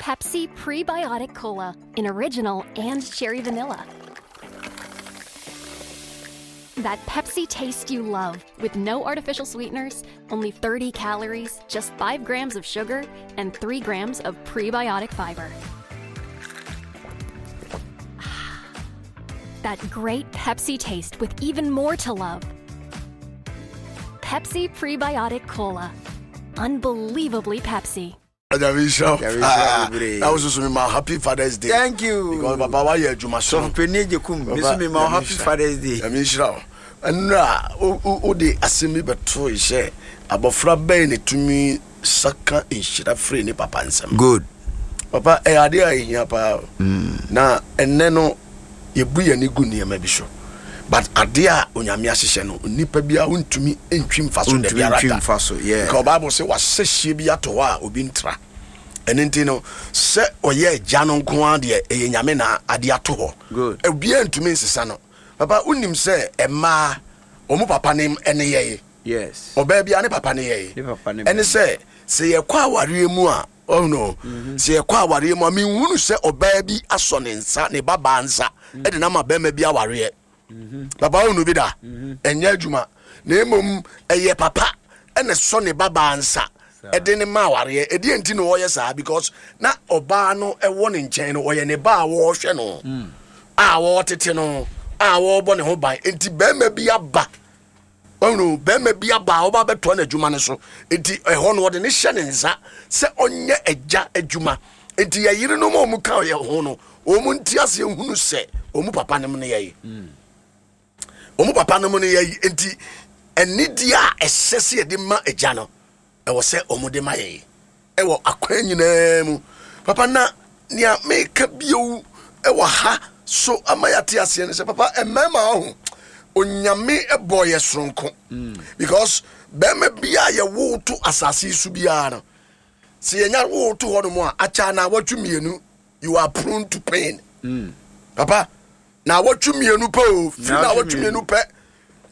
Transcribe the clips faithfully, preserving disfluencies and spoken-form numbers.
Pepsi Prebiotic Cola in original and cherry vanilla. That Pepsi taste you love with no artificial sweeteners, only thirty calories, just five grams of sugar, and three grams of prebiotic fiber. That great Pepsi taste with even more to love. Pepsi Prebiotic Cola. Unbelievably Pepsi. Nyame nhyira wo. Nyame nhyira wo bebree. Na wo soso mi ma happy Father's Day. Thank you. Because papa wa yɛ adwuma so. Sɔfo Panyin Agyekum, me nso me ma wo happy Father's Day. Nyame nhyira wo. Nnura wo de asɛm bi bɛto sɛ abɔfra bɛn na tumi saka nhyira firi ne papa nsam. Good. Papa, ɛyɛ adeɛ a ɛhia paa o. Na ɛnnɛ no yɛbu yɛn ani gu nneɛma bi so. But adeɛ a Onyame ahyehyɛ no, nipa biara wontumi ntwi mfa so da biara da. Mfa so, yeah. Because Bible sɛ wahyɛ hyie bi ato hɔ a obi ntra. Ɛno nti no, sɛ ɔyɛ agya no nko ara deɛ, ɛyɛ Nyame na adeɛ ato hɔ. Good. Obiara ntumi nsesa no. Papa, wonim sɛ mmaa, wɔn papa ne ɛne yɛn. Yes. Ɔbaa biara ne papa ne yɛn. Ne papa ne Ɛne sɛ, sɛ yɛkɔ awareɛ mu a, ɔhunu, sɛ yɛkɔ awareɛ mu a, menhunu sɛ ɔbaa bi asɔ ne nsa, ne babaa nsa, ɛde no ama bɛrima bi awareɛ. Papa, wohunu bi da? Ɛnyɛ adwuma. Na mmom ɛyɛ papa ɛna sɔ ne babaa nsa ɛde ne ma awareɛ. Ɛdeɛ nti na ɔyɛ saa? Because na ɔbaa no ɛwɔ ne nkyɛn no, ɔyɛ ne ba a wɔrehwɛ no, a wɔretete no, a wɔrebɔ ne ho ban. Nti bɛrima bi aba, ɔhunu, bɛrima bi aba a ɔba bɛtoa n'adwuma no so. Nti ɛhɔ no wɔde ne hyɛ ne nsa sɛ ɔnyɛ agya adwuma. Nti yɛ yerenom a wɔn ka yɛ ho no, wɔn nti aseɛ hunu sɛ wɔn papa nom no yɛ wɔn papa nom no yɛ. Nti anidie a ɛsɛ sɛ yɛde ma agya no, ɛwɔ sɛ wɔn de ma yɛ ɛwɔ akwan nyinaa mu. Papa, na nea meka bio ɛwɔ ha so ama yɛate aseɛ no sɛ, papa, mmarima ho Onyame bɔ yɛ soronko, because bɛrima biara yɛwo to asase yi so biara no, sɛ yɛnya wo to hɔ nom a, akyɛ na awɔtwe mmienu, you are prone to pain. Papa, na awɔtwe mmienu pɛ o, firi na awɔtwe mmienu pɛ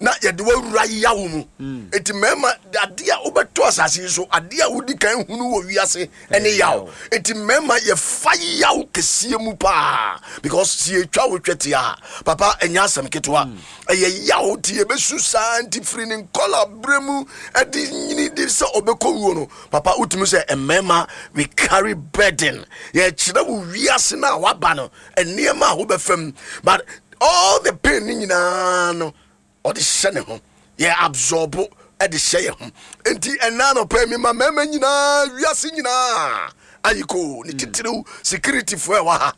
na yɛde wawura yawo mu. Eti mmarima, adeɛ a wobɛto asase yi so, adeɛ a wodi kan hunu wɔ wiase ɛne yaw. Eti mmarima yɛfa yaw kɛseɛ mu paa, because si yɛtwa wo twɛ tia, papa, ɛnyɛ asɛm ketewa, ɛyɛ yaw. Nti yɛbɛsu saa. Nti firi ne nkɔla berɛ mu ɛde nyini de sɛ ɔbɛkɔ wuo no, papa, wotumi sɛ mmarima, we carry burden. Yɛkyerɛ wo wiase no a waba no, nneɛma a wobɛfam, but all the pain ne nyinaa no, ɔde hyɛ ne ho, yɛ absorb ɛde hyɛ yɛ ho. Nti ɛna anɔpɛ mi ma mmarima nyinaa, wiase nyinaa ayiko ne titiriw security foɔ ɛwɔ ha.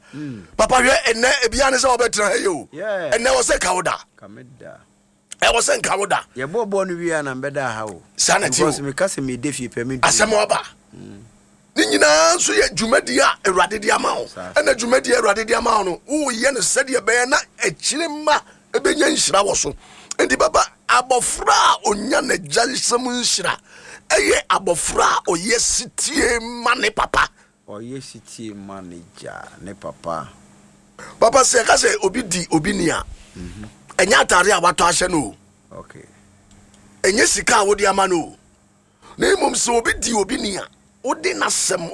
Papa, hwɛ, ɛnɛ ebia ne sɛ wɔbɛtena ha yi o. Yeah. Ɛnɛ wɔ sɛ ka wo da. Kameda. Ɛwɔ sɛ nka wo da. Yɛbɔ bɔɔl no wie a na mbɛda ha o. Saa na ti o. Because meka sɛ mede fie pɛ me. Asɛm aba ne nyinaa nso yɛ dwumadi a Awurade de ama wo. Saa. Ɛna dwumadi a Awurade de ama wo no, woyɛ no sɛdeɛ ɛbɛyɛ na akyire ma ɛbɛnya nhyira wɔ so. Nti baba, abɔfra a ɔnya n'agya nsɛm nhyira ɛyɛ abɔfra a ɔyɛ sitie ma ne papa. Ɔyɛ sitie ma ne gya ne papa. Papa, sɛ yɛka sɛ obi di obi ni a, ɛnyɛ atare a watɔ ahyɛ no o. Okay. Ɛnyɛ sika a wode ama no o, na mmom sɛ obi di obi ni a, wode n'asɛm